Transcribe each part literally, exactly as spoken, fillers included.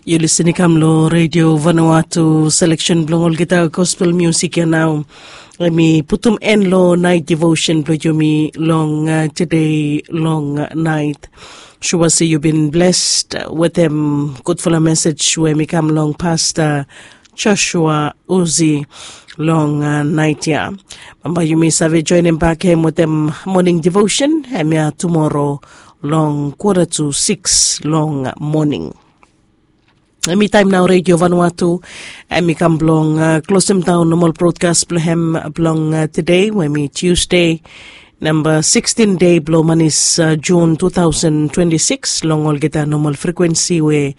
Yu lisin i kam long Redio Vanuatu. Seleksen blong olgeta gospel musik ya nao. Em i putum en long nait devotion blong yumi long uh, today long uh, nait. Sua se yu bin blessed wetem gudfala mesej we em i kam long Pasta Joshua Uzi long uh, nait ya. Bambae yumi save joinim bak hem wetem morning devotion hemia tumoro long quarter to six long morning. Em i taim nao Redio Vanuatu em i kam blong uh, klosim daun normal broadcast blong hem blong uh, today we em i Tuesday, number sixteen day blong manis uh, June two thousand twenty-six long olgeta normal frequency we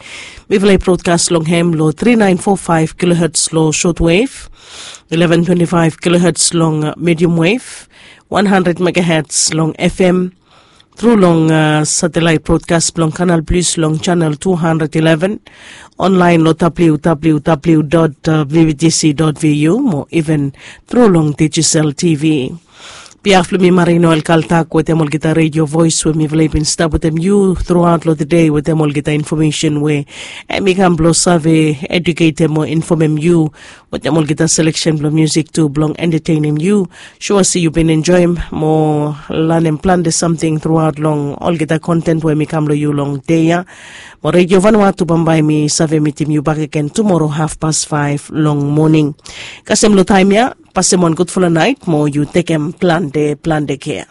mifala i broadcast long hem lo three nine four five kilohertz lo shortwave, eleven twenty-five kilohertz long uh, medium wave, one hundred megahertz long F M, tru long uh, satellite broadcast blong Canal Plus long channel two hundred eleven, online lo www.vvtc.vu mo even tru long Digicel T V. Biaf lo mi Marino El Kaltak wetem olgeta radio voice we mifala i bin stap wetem yu thruaut lo the day wetem olgeta information we em i kam blo save educatem o informem yu wetem olgeta seleksen blo musik tu blong entertainim yu. Sua se yu bin enjoim mo lanem plante samting thruaut long olgeta kontent we mi kam long yu long dei ya. Mo Redio Vanuatu bambae mi save mitim yu bakegen tumoro hafpas faef long moning. Kasem long taim ya, pasem wan gudfala nait mo yu tekem plante plante kea.